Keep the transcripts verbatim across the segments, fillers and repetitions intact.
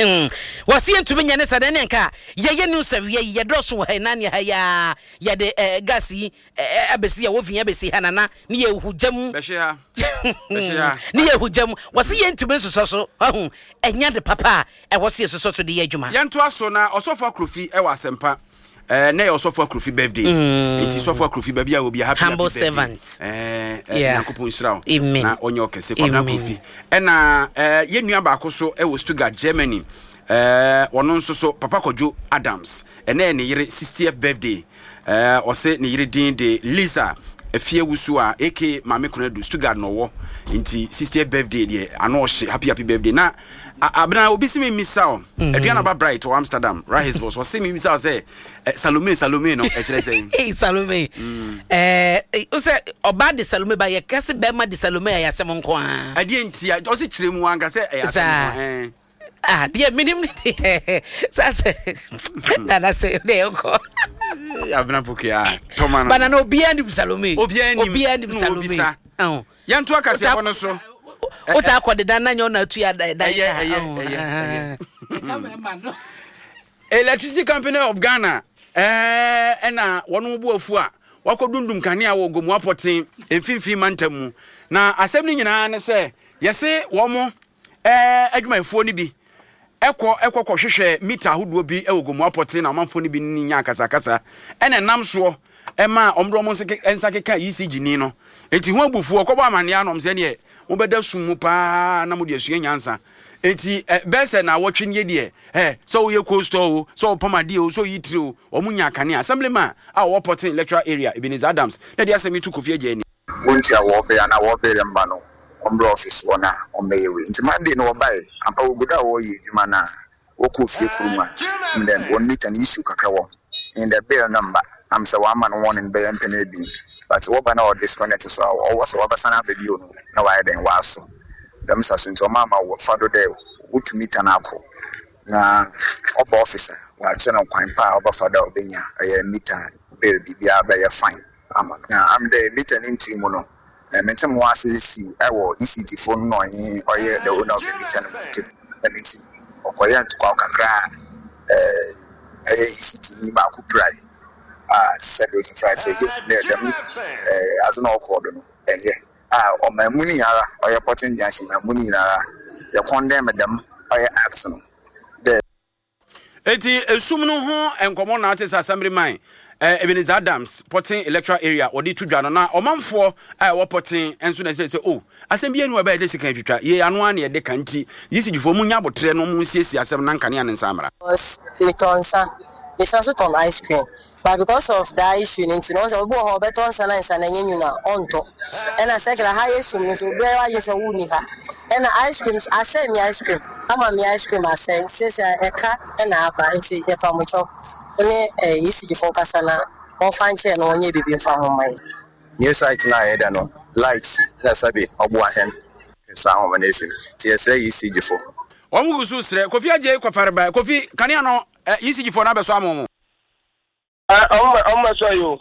Mm. Wɔsi yɛntumi nyɛ ne sɛ dɛn ne nka yɛyɛ news awia yi, yɛdɔɔso wɔ ha yi na ne ha yi a yɛde eh, gas yi eh, abɛsi yɛwɔ fi abɛsi ha nana ne yɛhu gya mu. Bɛhye ha, bɛhye ha. Ne yɛhu gya mu. Wɔsi yɛntumi nsosɔ so ɔho ɛnya de papa a ɛwɔ se yɛsosɔ so de yɛ adwuma. Yɛntoa so na Ɔsɔfo Akrofi ɛwɔ Asɛmpa ɛɛ ne yɛ Ɔsɔfo Akrofi birthday, eti Sɔfo Akrofi, baabi a obi a, happy Humble happy birthday. Servant. ɛɛ ɛɛ Yeah. Nyankopɔn nhyira wo Amen. na ɔnyɛ ɔkɛse. Kwabena Amen. Akrofi ɛna ɛɛ yɛn nua baako so ɛwɔ Stuttgart, Germany. ɛɛ ɔno nso so, Papa Kwadwo Adams, ɛnɛ yɛ ne yere sixtieth birthday. ɛɛ ɔsɛ ne yere din de Lisa Efie Wusu a aka Maame Kunadu, Stuttgart na ɔwɔ, nti sixtieth birthday deɛ ano ɔhye. Happy happy birthday. Na a- abena obi si mi misa o, Aduana ba Bright wɔ Amsterdam, Rahis Boss, ɔsi mi misa o sɛ ɛ Salome, Salome no ɛkyerɛ sɛ? Hey, Salome, ɛɛ sɛ ɔbaa de Salome ba, yɛ kɛse bɛrima de Salome a, yɛ asɛm nko ara. Ɛdeɛ nti a ɔsi kyerɛ mu anka sɛ ɛyɛ asɛm Saa. ho ɛn. Ah, deɛ minim ne deɛ saa sɛ nana sɛ deɛ ɛkɔ. Ee, Abena Pokia tɔma no. Bana na obiara nim Salome. Obiara nim. Obiara nim Na Salome. obisa. Ɔn. Yɛnto akaseɛbɔ no so. Wota akɔ deda na nyɛ ɔna atu ada ɛdan. Ɛyɛ, ka. ɛyɛ, Ɔn, ɛyɛ, ah. ɛyɛ. Ɛka mɛma no. Electricity Company of Ghana ɛɛ ɛna wɔn bu afu a wakɔ dundum kanea wɔ Gomu Apɔten Mfimfini mantam mu, na asɛm no nyinaa ne sɛ yɛse wɔn ɛɛ adwumayɛfoɔ no bi ɛkɔ ɛkɔ kɔhwehwɛ mita ahodoɔ bi ɛwɔ Gomu Apɔten, na ɔmanfoɔ no bi ne nya akasakasa, ɛna ɛnam soɔ ɛma wɔn de wɔn nsa ke- nsa keka E C G ni no, eti ho abufuo ɔkɔbɔ amaneɛ anam sɛ neɛ mobɛda sum mu paa na mode asua nyansa. Eti ɛ bɛɛ sɛ na awɔtwe nie deɛ ɛ sɛ woyɛ cold store o, sɛ wopam adeɛ o, sɛ woyi tiri o, wɔn nya kanea. Assemblyman a ɔwɔ Pɔten electoral area, Ebenezer Adams, na de asɛm yi to Kofi Agya ani. Wontua wɔbere anaa wɔbere mba no, ɔmbrɛ office hɔ na ɔmbɛyɛ wei. Nti Monday no wɔbae ampa, wɔgu do a wɔreyɛ adwuma no a wɔkɔɔ fie kurom a and then wɔn meter no issue kakra wɔ ho in the bill no mba am sɛ wɔama no warning bɛyɛ mpɛn ebien, but wɔba na wɔ disconnect so a ɔwɔ sɛ wɔbɛsan aba bio no na wɔayɛ dɛn wɔaso dɛm sa so. Nti ɔma ama wɔfa do dɛ wotu meter no akɔ na ɔba office a wɔakyerɛ no kwan pa a ɔbɛfa do a ɔbɛnya ɛyɛ meter bill, biribiara bɛyɛ fine ama no. Na am dɛ meter no ntui mu no, eh, mente mo ase si ɛwɔ E C G fo no na ɔnye ɔyɛ the owner of the meter no mu ntam. Ɛno nti ɔkɔyɛ ntokwaw kakra a eh, ɛyɛ E C G yi baako pirae a sɛdeɛ ɔti fra kyerɛ yɛhu dɛ dɛm eh, adze na ɔkɔɔ do no ɛnyɛ a ɔman mu no nyinara, ɔyɛ Pɔten Junction man mu no nyinara yɛ condemn dɛm ɔyɛ act no dɛ. Eti esum no ho nkɔmɔ na ate sɛ Assemblyman eh, Ebenezer Adams, Pɔten electoral area, wɔde to dwa no, na ɔmanfoɔ a ɛwɔ Pɔten nso na ɛsɛ sɛ o asɛm bi anu a ɛbɛyɛ de sika atwitwa yɛ ano a na yɛde ka, nti E C G foɔ mu nya abotrɛ no mu nsiesie asɛm na nkanea ne nsa mmara. Because metɔ nsa, mesan so tɔn ice cream, but because of that issue no nti no, ɔsɛ obi wɔ hɔ a ɔbɛtɔ nsa na nsa na ɛnyɛ nwunu a ɔntɔ. Ɛna sɛkla ha yɛ sum no so, obiara wagye sɛ wonni ha, ɛna ice cream so asɛe mi, ice cream ama mi, ice cream asɛe. Nti sɛ ɛka ɛna aba nti yɛfa mo kyɛw ne ɛɛ E C G fo nkasa na wɔmfa nkyɛn na wɔnyɛ biribi mfa ho ma yɛ. New site no a yɛda no light na sɛbe ɔboa hɛn saa ahoma no esi nti yɛsrɛ E C G fo. Wɔn gu so srɛ. Kofi Agye kɔfare ba Kofi kanea no eh, E C G foɔ no abɛsɔ ama wɔn. ɔmo ɔmo bɛsɔ yi o.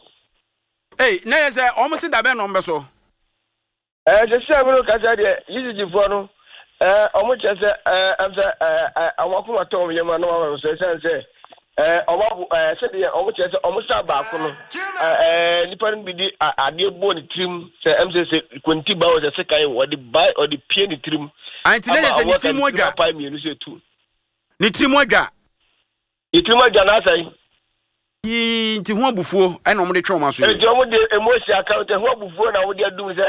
Ei, na yɛ sɛ wɔn se dabɛn na wɔn bɛsɔ? ɛɛ sisi a mi no kasa deɛ, E C G foɔ no ɛɛ ɔmo kyerɛ sɛ ɛɛ ɛm sɛ ɛɛ ɛɛ ɔmo akoma tɔ ɔmo yam a na wɔn abɛsɔ, ɛsiane sɛ ɛɛ ɔmo abo ɛɛ sɛdeɛ ɔmo kyerɛ sɛ ɔmo sa baako no, ɛɛ nipa no bi di adeɛ bɔ ne tirim sɛ ɛm sɛ sɛ konti ba wɔ sɛ sekan wɔde ba ɔde pie ne tirim. Nti na yɛ sɛ ne tirim Ama adwa. Apae mmienu sɛ tu. Ne tirim adwa. Ne tirim adwa n'asɛn. Yii, nti ho abufuo ɛna wɔn de twɛ wɔn aso yi. Nti ɔmo de emosi account ho abufuo na ɔmo de adum sɛ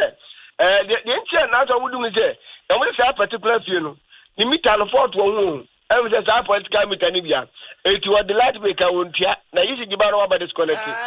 ɛɛ deɛ deɛ nti a n'asɛ ɔmo dum sɛ ɔmo de saa particular fie no ne meter no fault wɔ ho o, ɛmu sɛ saa political meter no bia eti wɔde light bill ka wɔn tua na yi si gyiba no waba disconnect.